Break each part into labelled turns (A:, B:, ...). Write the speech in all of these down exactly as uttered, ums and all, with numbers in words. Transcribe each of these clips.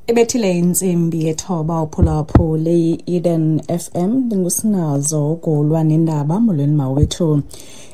A: Ibethile intsimbi yethoba uphulaphule i-Eden F M, ndingusinazo ugulwa nendaba. Molweni mawethu.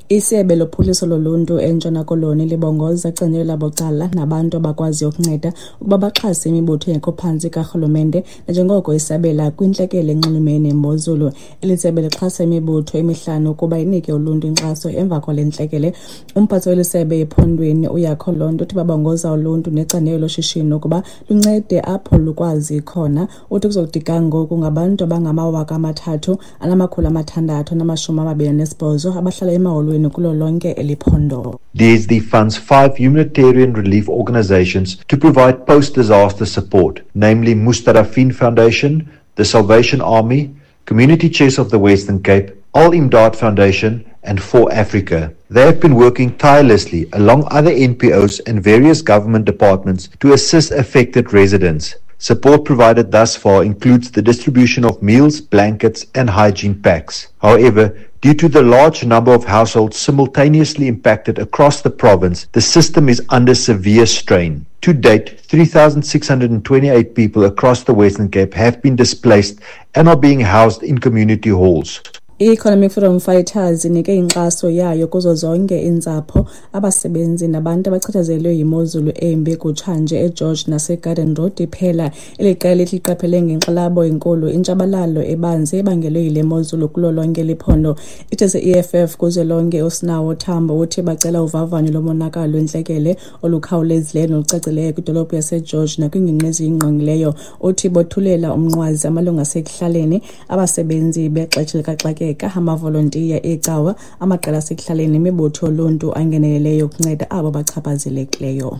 A: Isebe lophuhliso loluntu eNtshona Koloni libongoza icandelo labucala nabantu abakwaziyo ukunceda ukuba baxhase imibutho engekho phantsi karhulumente nanjengoko isabela kwintlekele enxulumene nemozulu. Eli sebe lixhasa imibutho emihlanu ukuba inike uluntu inkxaso emva kwale ntlekele. Umphathi weli sebe ephondweni uYakho Lonto uthi babongoza uluntu necandelo loshishino ukuba luncede apho lukwazi khona. Uthi kuzokuthi ga ngoku ngabantu abangamawaka amathathu anamakhulu amathandathu anamashumi amabini anesibhozo abahlala emaholweni kulo lonke eli phondo.
B: D S D funds five humanitarian relief organizations to provide post-disaster support, namely Mustadafin Foundation, the Salvation Army, Community Chest of the Western Cape, Al Imdad Foundation, and For Africa. They have been working tirelessly along other N P Os and various government departments to assist affected residents. Support provided thus far includes the distribution of meals, blankets, and hygiene packs. However, due to the large number of households simultaneously impacted across the province, the system is under severe strain. To date, three thousand six hundred twenty-eight people across the Western Cape have been displaced and are being housed in community halls.
A: I-Economic Freedom Fighters inike inkxaso yayo kuzo zonke iintsapho, abasebenzi nabantu abachatshazelwe yimozulu embi kutshanje eGeorge naseGarden Road iphela. Eli qela lithi liqaphele ngenkxalabo enkulu intshabalalo ebanzi ebangelwe yile mozulu kulo lonke eli phondo. Ithe se-E F F kuzwelonke uSinawo Tambo uthi bacela uvavanyo lomonakalo lwentlekele olukhawulezileyo nolucacileyo kwidolophu yaseGeorge nakwiingingqi eziyingqongileyo. Uthi bothulela umnqwazi amalungu asekuhlaleni, abasebenzi bexesha likaxakeka, amavolontiya eecawa, amaqela asekuhlaleni nemibutho yoluntu angeneleleyo ukunceda abo bachaphazelekileyo.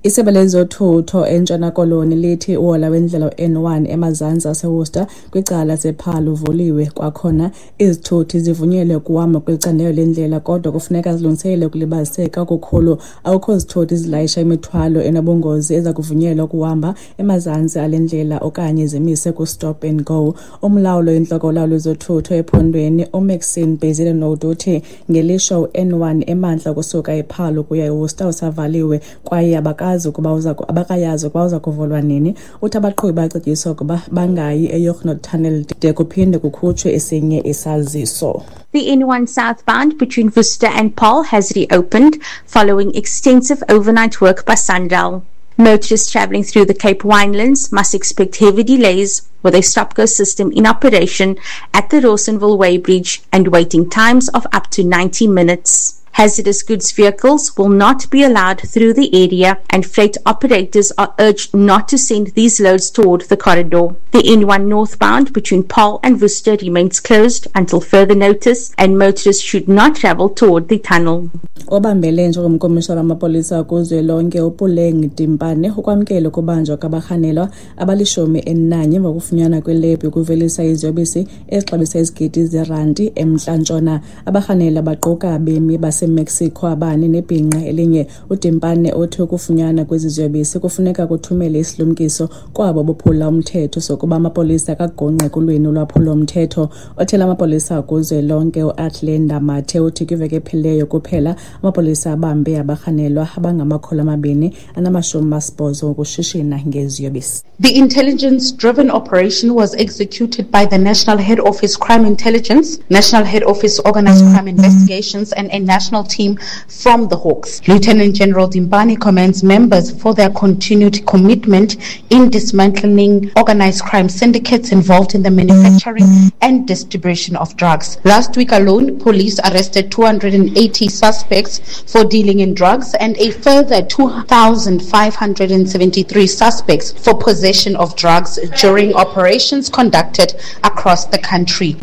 A: Isebe lezothutho eNtshona Koloni lithi uhola wendlela u-N one emazantsi aseWorcester kwicala lasePaarl uvuliwe kwakhona. Izithuthi zivunyelwe ukuhamba kweli candelo lendlela kodwa kufuneka zilungiselele ukulibaziseka okukhulu. Akukho zithuthi zilayisha imithwalo enobungozi eza kuvunyelwa ukuhamba emazantsi ale ndlela okanye zimise ku-stop and go. Umlawuli oyintloko wolawulo lwezothutho ephondweni uMaxine Bezuidenhout uthi ngelishwa u-N one emantla ukusuka ePaarl ukuya eWorcester usavaliwe kwaye abakazi ukuba uza abakayazi ukuba uza kuvulwa nini. Uthi abaqhubi bacetyiswa ukuba bangayi eYognot Tunnel de kuphinde kukhutshwe esinye isaziso.
C: The N one southbound between Worcester and Paarl has reopened following extensive overnight work by SANRAL. Motorists travelling through the Cape Winelands must expect heavy delays with a stop-go system in operation at the Rawsonville Weighbridge and waiting times of up to ninety minutes. Hazardous goods vehicles will not be allowed through the area, and freight operators are urged not to send these loads toward the corridor. The N one northbound between Paarl and Worcester remains closed until further notice, and motorists should not travel toward the tunnel.
A: Obambele njengomkomishana wamapolisa kuzwelonke uPuleng Dimpane ukwamkele ukubanjwa kwabarhanelwa abalishumi elinanye emva kokufunyanwa kwelebhu yokuvelisa iziyobisi ezixabisa izigidi zeranti eMntla Ntshona. Abarhanelwa baquka abemi baseMexico abane nebhinqa elinye. UDimpane uthi ukufunyanwa kwezi ziyobisi kufuneka kuthumele isilumkiso kwabo bophula umthetho sokuba amapolisa akagungqi ekulweni ulwaphulo-mthetho. Othela amapolisa kuzwelonke uAthlenda Mathe uthi kwiveki ephelileyo kuphela amapolisa abambe abarhanelwa abangamakhulu amabini anamashumi asibhozo ngokushishina ngeziyobisi.
D: The intelligence-driven operation was executed by the National Head Office Crime Intelligence, National Head Office Organized Crime Investigations, and a national team from the Hawks. Lieutenant General Dimpane commends members for their continued commitment in dismantling organized crime syndicates involved in the manufacturing and distribution of drugs. Last week alone, police arrested two hundred eighty suspects for dealing in drugs and a further two thousand five hundred seventy-three suspects for possession of drugs during operations conducted across the country.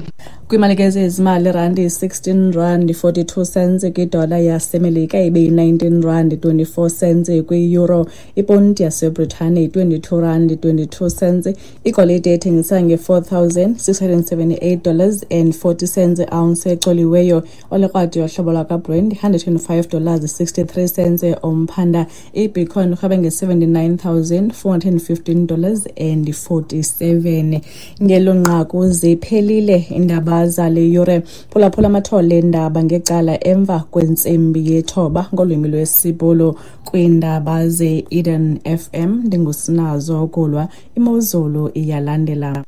A: Kwimali ke zezimali, irandi sixteen rand forty-two cents kwidola yaseMelika, ibe yi-nineteen rand twenty-four cents kwi-euro, iponti yaseBritane yi-twenty-two rand twenty-two cents. Igolide ethengisa nge-four thousand six hundred seventy-eight dollars and forty cents ounce ecoliweyo. Olekrwada yohlobo lwakwaBrent one hundred twenty-five dollars sixty-three cents umphanda. Ibitcoin irhwebe nge-seventy-nine thousand four hundred fifteen dollars and forty-seven. Ngelo nqaku ziphelile indaba. Kwiindaba zale yure, phulaphula amathole eendaba ngecala emva kwentsimbi yethoba ngolwimi lwesiBhulu. Kwiindaba ze-Eden F M ndingusinazo Kulwa. Imozulu iyalandela.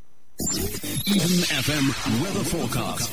E: Eden F M weather forecast.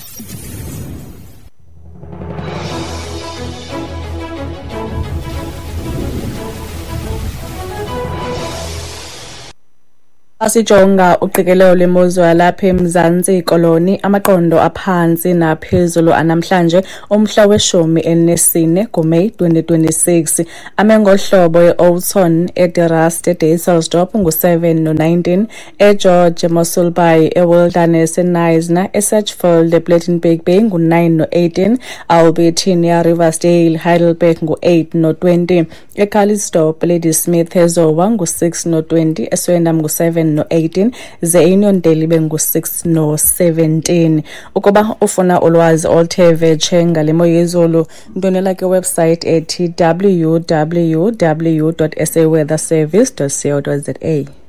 A: Asijonga uqikelelo lwemozulu yalapha eMzantsi Koloni, amaqondo aphantsi naphezulu anamhlanje umhla weshumi elinesine kuMeyi twenty twenty-six. Ame ngohlobo e-Oudtshoorn, eDe-Rust, eDysselsdorp ngu-seven no-nineteen, eGeorge, eMossel Bay, eWilderness, eKnysna, eSedgefield, ePlettenberg Bay ngu-nine no-eighteen, Albertinia, Riversdale, Heidelberg ngu-eight no-twenty, eCalitzdorp, Ladysmith, eZowa ngu-six no-twenty, eSwellendam ngu-seven no-eighteen, ze Uniondale ibe ngu-six no-seventeen. Ukuba ufuna ulwazi oluthe vetshe ngale mo yezulu, ndwendwela kwiwebsite ethi w w w dot s a weather service dot co dot z a.